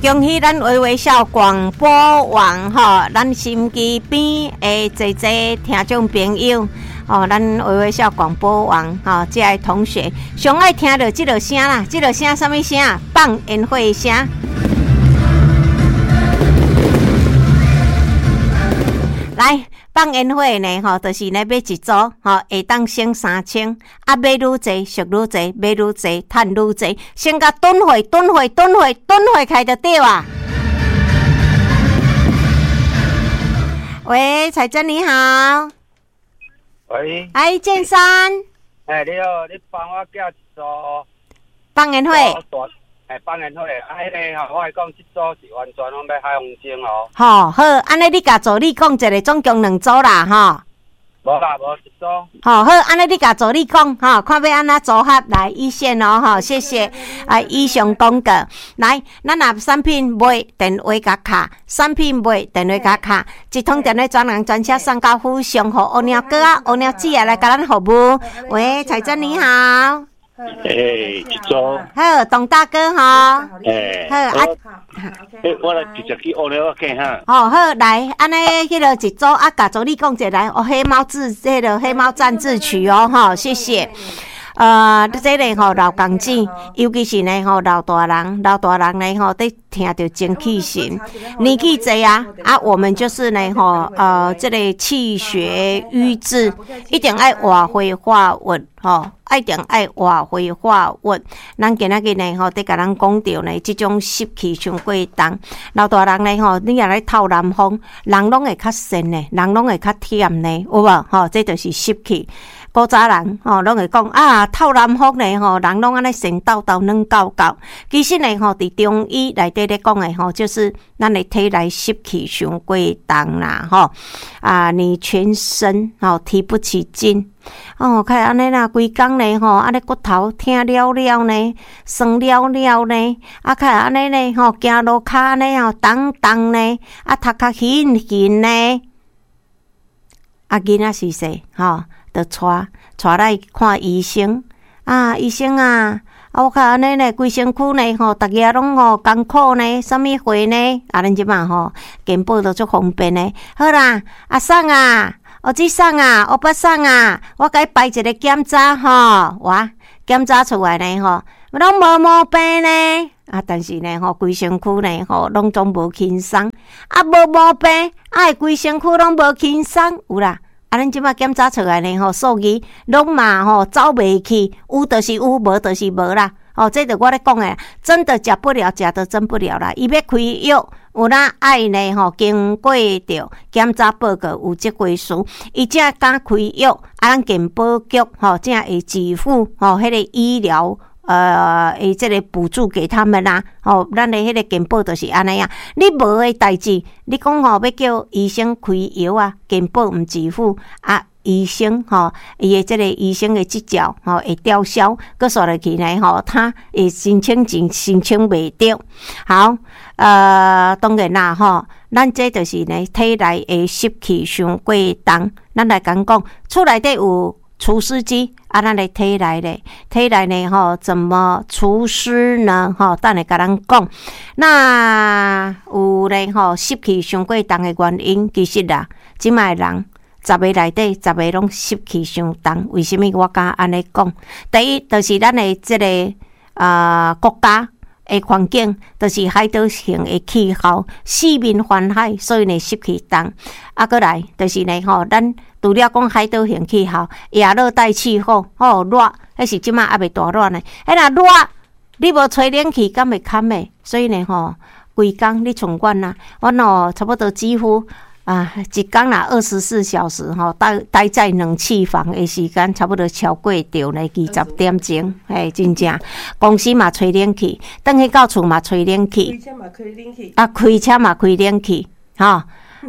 恭喜咱微微笑廣播網吼，咱收音機邊的濟濟聽眾朋友，吼，咱微微笑廣播網吼，這个同學上愛聽著這个聲啦，這個聲啥物聲？放煙火的聲。來放煙火呢，吼，就是呢買一組，吼，會當省3000，啊買愈濟俗愈濟，買愈濟趁愈濟，先共囤貨、囤貨、囤貨、囤貨開就對啊。喂，彩珍你好。喂。哎，建山。哎，你好，你幫我寄一組。放煙火。哎，放煙火，啊，彼个吼，我來講，這組是完全攏欲海風箏哦。吼，好，按呢你共助理講一个，總共兩組啦，吼。無啦，無一組。吼，好，按呢你共助理講，吼，看欲按怎組合來一線哦，吼，謝謝。啊，以上廣告，來，咱若產品賣，電話共敲，產品賣，電話共敲，一通電話專人專車送到府上，予烏貓哥仔、烏貓姊仔來共咱服務。喂，彩珍你好。欸，一組。好，董大哥吼。欸，好啊。欸，我來直接去烏貓仔哈。哦，好，來，按呢，彼个一組啊，共助理講一下來，哦，黑貓自，彼个黑貓戰志曲哦，吼，謝謝。這个吼老公子，尤其是呢吼老大人，老大人呢吼佇聽著精氣神，年紀濟啊，啊，我們就是呢吼，這个氣血瘀滯，一定愛活血化瘀，吼，一定愛活血化瘀。咱今仔日呢吼，佇共咱講著呢，這種濕氣傷過重，老大人呢吼，你若咧透南風，人攏會較神呢，人攏會較忝呢，有無？吼，這就是濕氣。古早人吼，攏會講啊，透南風呢吼，人攏按呢神抖抖、軟厚厚。其實呢吼，佇中醫內底咧講的吼，就是咱的體內濕氣傷過重啦，吼啊，你全身吼提不起勁，哦，較會按呢啦，規工呢吼，按呢骨頭疼了了呢，酸了了呢，啊，較會按呢呢吼，行路跤呢吼，重重呢，啊，頭殼晕暈呢，啊，囡仔是細吼。就帶帶來看醫生啊！醫生啊！啊，我較按呢呢，規身軀呢吼，逐日攏吼艱苦呢，啥物貨呢？啊，咱這擺吼，健保都足方便的。好啦，阿桑啊，歐吉桑啊，歐巴桑啊，我共你排一个檢查吼，哇，檢查出來呢吼，攏無毛病呢。啊，但是呢吼，規身軀呢吼，攏總無輕鬆。啊，無毛病，啊，規身軀攏無輕鬆，有啦。啊，咱這擺檢查出來呢吼，數字攏嘛吼走袂去，有就是有，無就是無啦。哦，這就我咧講的，真的假不了，假的真不了啦。伊欲開藥，有哪愛呢吼，經過著檢查報告有這回事，伊才敢開藥。啊，咱健保局吼才會支付吼彼个醫療。會這个補助給他們啦，吼，咱的彼个健保就是按呢啊。你無的代誌，你講吼欲叫醫生開藥啊，健保毋支付啊，醫生吼，伊的這个醫生的執照吼會吊銷，閣煞落去呢吼，他會申請真申請袂著。好，當然啦吼，咱這就是呢體內的濕氣傷過重，咱來講講，厝內底有除濕機啊，咱的體內咧，體內呢吼，怎麼除濕呢？吼，等下共咱講。那有咧吼，濕氣傷過重的原因，其實啦，這擺人十个內底，十个攏濕氣傷重。為啥物我敢按呢講？第一，就是咱的這个國家的環境，就是海島型的氣候，四面環海，所以呢濕氣重。啊，閣來就是呢吼，咱除了講海島型氣候，亞熱帶氣候，吼熱，彼是這擺猶未大熱呢。彼若熱，你無吹冷氣，敢會堪的？所以呢吼，規工你像阮啊，阮哦差不多幾乎啊，一工啦24小時吼，待在冷氣房的時間差不多超過著呢20點鐘，嘿，真正公司嘛吹冷氣，轉去到厝嘛吹冷氣，開車嘛開冷氣，啊，開車嘛開冷氣，吼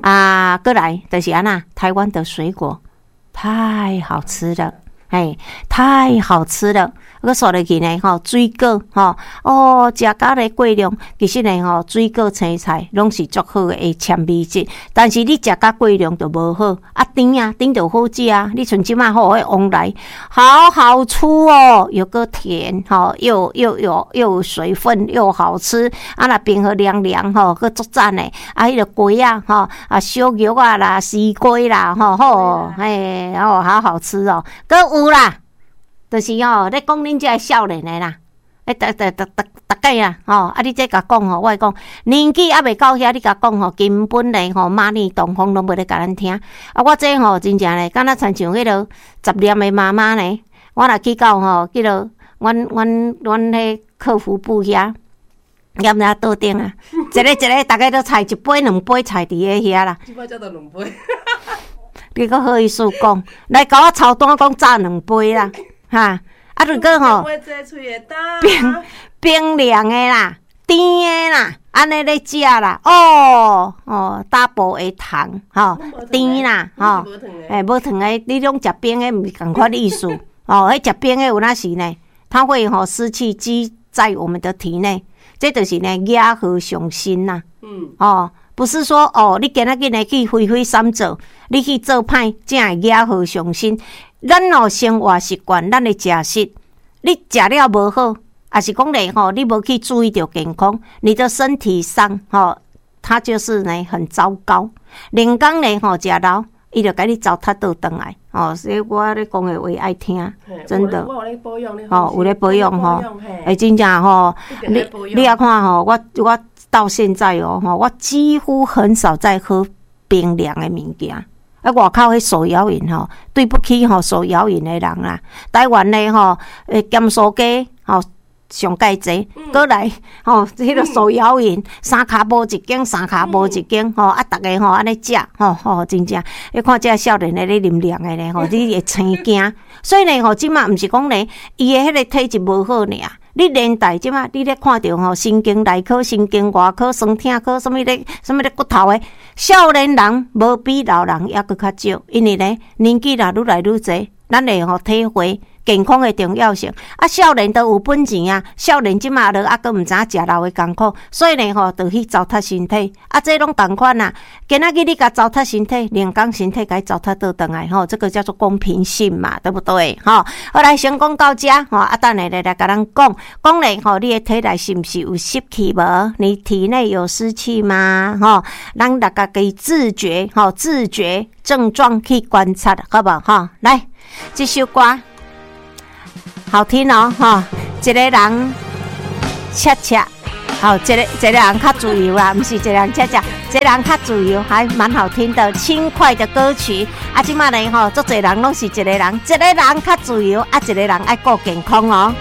啊，閣來就是按怎，台灣的水果太好吃了，哎，太好吃了，閣煞落去呢吼，水果吼，哦，食甲咧過量，其實呢吼，水果青菜攏是足好的纖維質，但是你食甲過量就無好。啊，甜啊，甜就好食啊，你像這擺吼，彼旺來，好好吃哦，又閣甜吼，又有水分，又好吃。啊，若冰予涼涼吼，閣足讚的。啊，彼个雞仔吼，啊，燒肉啊啦，絲瓜啦，吼好，嘿，哦，好好吃哦。閣有啦，就是吼，咧講恁這个少年的啦，欸，逐逐逐逐逐概啦，吼，啊，你這共講吼，我會講年紀猶未到遐，你共講吼，根本咧吼，瑪麗東風攏無咧共咱聽。啊，我這吼真正咧，敢若親像彼个雜念的媽媽呢，我若去到吼，彼个阮彼客服部遐。踮遐桌頂啊，一个一个，逐家都菜一杯兩杯菜佇咧遐啦。這擺才到兩杯。你閣好意思講，來共我抄單講早兩杯啦，哈！啊，如果吼冰冰涼的啦，甜的啦，按呢咧食啦，哦哦，double 的糖吼，甜啦，吼，欸，無糖的，你攏食冰的，毋是仝款意思，哦，彼食冰的有哪時呢？它會吼濕氣積在我們的體內。這就是呢，惹禍上身啦。哦，不是說哦，你今仔日呢去揮揮三做，你去做歹，才會惹禍上身。咱哦生活習慣，咱的食食，你食了無好，抑是講咧吼，你無去注意著健康，你的身體上吼，它就是呢很糟糕。連工咧吼食老，伊就共你糟蹋倒轉來。哦，所以我咧講的話愛聽，真的。哦，有咧保養吼，欸，真正吼，你也看吼，我到現在哦，吼，我幾乎很少在喝冰涼的物件。啊，外口彼手搖飲吼，對不起吼，手搖飲的人啦。台灣的吼，欸，鹹酥雞吼上蓋濟，閣來吼，彼个手搖飲，三跤步一間，三跤步一間，吼啊，逐家吼按呢食，吼吼，真正，你看這少年的咧啉涼的咧，吼，你會生驚。所以呢，吼，這馬毋是講咧，伊的彼个體質無好爾。你連帶這馬你咧看著吼，神經內科、神經外科、酸痛科，啥物咧，啥物咧骨頭的，少年人無比老人猶閣較少，因為咧年紀若愈來愈濟，咱會吼體會健康的重要性。啊，少年都有本錢啊，少年這馬都猶閣毋知影食老的艱苦，所以呢吼，就去糟蹋身體。啊，這攏仝款啊。今仔日你共糟蹋身體，明工身體共糟蹋倒轉來吼，這個叫做公平性嘛，對不對？吼，好來先講到這吼，啊，等下來來共咱講講咧吼，你的體內是毋是有濕氣無？你體內有濕氣嗎？吼，咱大家己自覺吼，自覺症狀去觀察，好無？吼，來，這首歌好聽哦，吼，一个人恰恰，好，一個一個人較自由啦，毋是一個人恰恰，一個人較自由，還蠻好聽的，輕快的歌曲。啊，這馬呢吼，足濟人攏是一個人，一個人較自由，啊，一個人愛顧健康哦。